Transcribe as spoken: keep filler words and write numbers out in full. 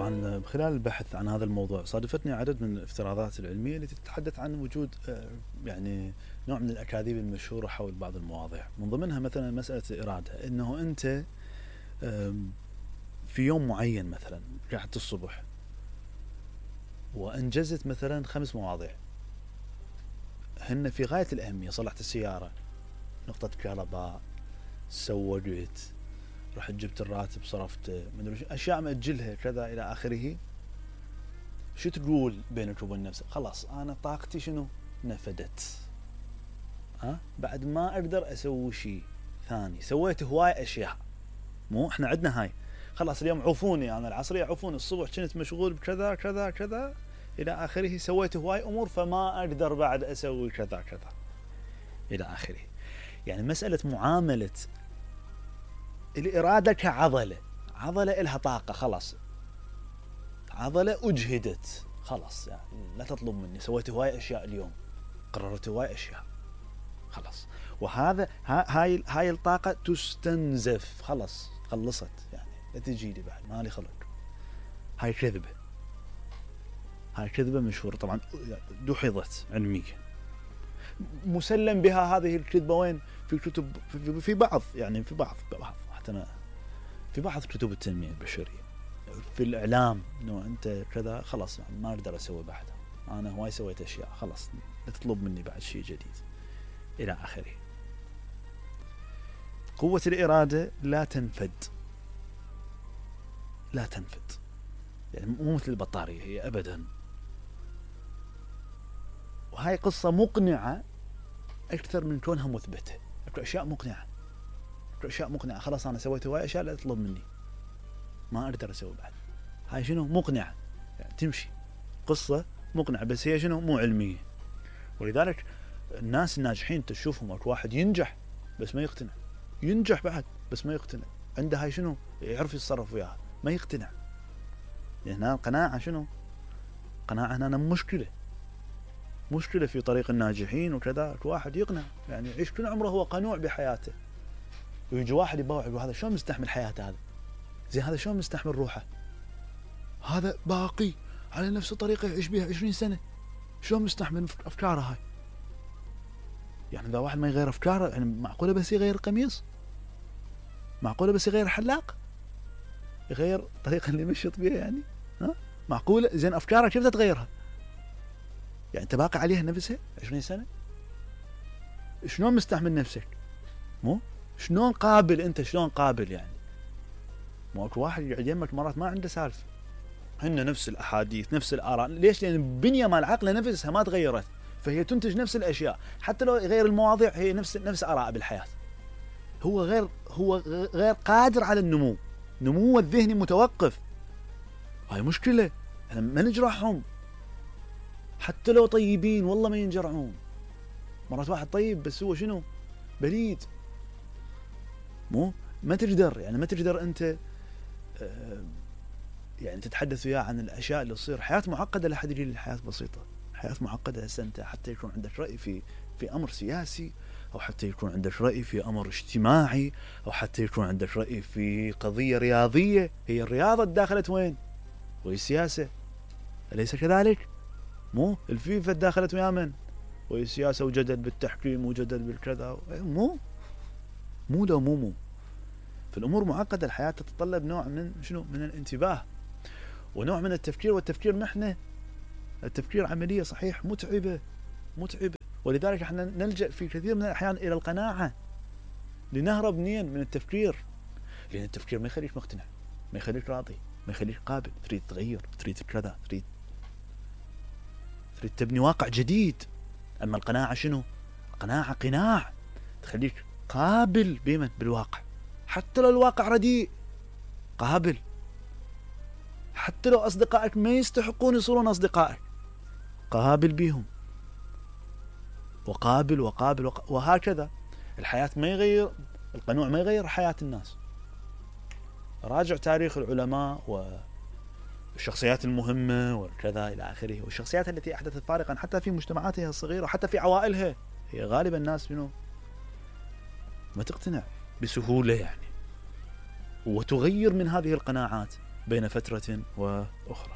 طبعا خلال البحث عن هذا الموضوع صادفتني عدد من الافتراضات العلمية التي تتحدث عن وجود يعني نوع من الأكاذيب المشهورة حول بعض المواضيع، من ضمنها مثلا مسألة الإرادة، إنه أنت في يوم معين مثلا قعدت الصبح وأنجزت مثلا خمس مواضيع هن في غاية الأهمية، صلحت السيارة، نقطة كهرباء، سوقت، رحت جبت الراتب، صرفته، مدري أشياء مأجلها كذا إلى آخره. شو تقول بينك وبين نفسك؟ خلاص أنا طاقتي شنو نفدت، ها بعد ما أقدر أسوي شيء ثاني، سويت هواي أشياء. مو إحنا عندنا هاي، خلاص اليوم عوفوني، أنا العصرية عوفوني، الصبح كنت مشغول بكذا كذا كذا إلى آخره، سويت هواي أمور فما أقدر بعد أسوي كذا كذا إلى آخره. يعني مسألة معاملة الإرادة كعضلة، عضلة إلها طاقة، خلاص عضلة أجهدت، خلاص يعني لا تطلب مني، سويت هواي أشياء اليوم، قررت هواي أشياء، خلاص. وهذا هاي هاي الطاقة تستنزف، خلاص خلصت، يعني لا تجي لي بعد، مالي خلق. هاي كذبة، هاي كذبة مشهورة طبعا، دحضت علميا، مسلم بها هذه الكذبة. وين؟ في كتب، في, في بعض يعني في بعض بعض حتى في بعض كتب التنمية البشرية، في الإعلام، إنه أنت كذا خلاص ما أقدر أسوي بعدها، أنا هواي سويت أشياء، خلاص لا تطلب مني بعد شيء جديد إلى آخره. قوة الإرادة لا تنفد، لا تنفد، يعني مو مثل البطارية هي أبدا. وهاي قصة مقنعة أكثر من كونها مثبتة، أكو أشياء مقنعة، أكو أشياء مقنعة، خلاص أنا سويت هواي أشياء لا تطلب مني، ما أقدر أسوي بعد. هاي شنو؟ مقنعة، يعني تمشي، قصة مقنعة، بس هي شنو؟ مو علمية. ولذلك الناس الناجحين تشوفهم، أكو واحد ينجح بس ما يقتنع، ينجح بعد بس ما يقتنع، عنده هاي شنو؟ يعرف يتصرف وياها، ما يقتنع. يعني هنا القناعة شنو؟ قناعة هنا مشكلة، مشكلة في طريق الناجحين وكذا. أكو واحد يقنع، يعني يعيش كل عمره هو قنوع بحياته، ويجي واحد يباوع يقول هذا شلون مستحمل حياته، هذا زين، هذا شلون مستحمل روحه، هذا باقي على نفس الطريقة يعيش بها عشرين سنة، شلون مستحمل أفكاره هاي؟ يعني إذا واحد ما يغير أفكاره، يعني معقولة بس يغير القميص؟ معقولة بس يغير حلاق؟ يغير الطريقة اللي مشيت بها يعني؟ ها؟ معقولة؟ زين أفكارك كيف تتغيرها؟ يعني أنت باقي عليها نفسها عشرين سنة؟ شلون مستحمل نفسك؟ مو؟ شلون قابل أنت؟ شلون قابل يعني؟ مو أكو واحد يقعد يمك مرات ما عنده سالفة، هن نفس الأحاديث، نفس الآراء، ليش؟ لأن البنية مال العقل نفسها ما تغيرت، فهي تنتج نفس الأشياء، حتى لو يغير المواضيع هي نفس نفس آراء بالحياة. هو غير هو غير قادر على النمو، نموه الذهني متوقف. هاي مشكلة، احنا ما نجرحهم، حتى لو طيبين والله ما ينجرعون. مرات واحد طيب بس هو شنو؟ بليد، مو ما تقدر، يعني ما تقدر أنت آه يعني تتحدث وياه عن الأشياء اللي تصير. حياة معقدة، لا حد يقول الحياة بسيطة، حياة معقدة. هسه أنت حتى يكون عندك رأي في في أمر سياسي، أو حتى يكون عندك رأي في أمر اجتماعي، أو حتى يكون عندك رأي في قضية رياضية، هي الرياضة داخلت وين؟ وهي السياسة، أليس كذلك؟ مو الفيفا داخلت ويا من؟ وهي السياسة، وجدل بالتحكيم وجدل بالكذا، مو مو لو مو مو فالأمور معقدة. الحياة تتطلب نوع من شنو؟ من الانتباه ونوع من التفكير، والتفكير محنة، التفكير عملية صحيح متعبة متعبة. ولذلك احنا نلجأ في كثير من الأحيان إلى القناعة لنهرب منين؟ من التفكير، لأن التفكير ما يخليك مقتنع، ما يخليك راضي، ما يخليك قابل، تريد تغير، تريد كذا، تريد تريد تبني واقع جديد. أما القناعة شنو؟ القناعة قناع، تخليك قابل بمن؟ بالواقع، حتى لو الواقع رديء قابل، حتى لو أصدقائك ما يستحقون يصيرون أصدقائك قابل بيهم، وقابل وقابل وق... وهكذا. الحياة ما يغير، القنوع ما يغير حياة الناس. راجع تاريخ العلماء والشخصيات المهمة وكذا إلى آخره، والشخصيات التي أحدثت فارقا حتى في مجتمعاتها الصغيرة، حتى في عوائلها، هي غالبا الناس منه ما تقتنع بسهولة يعني، وتغير من هذه القناعات بين فترة وأخرى.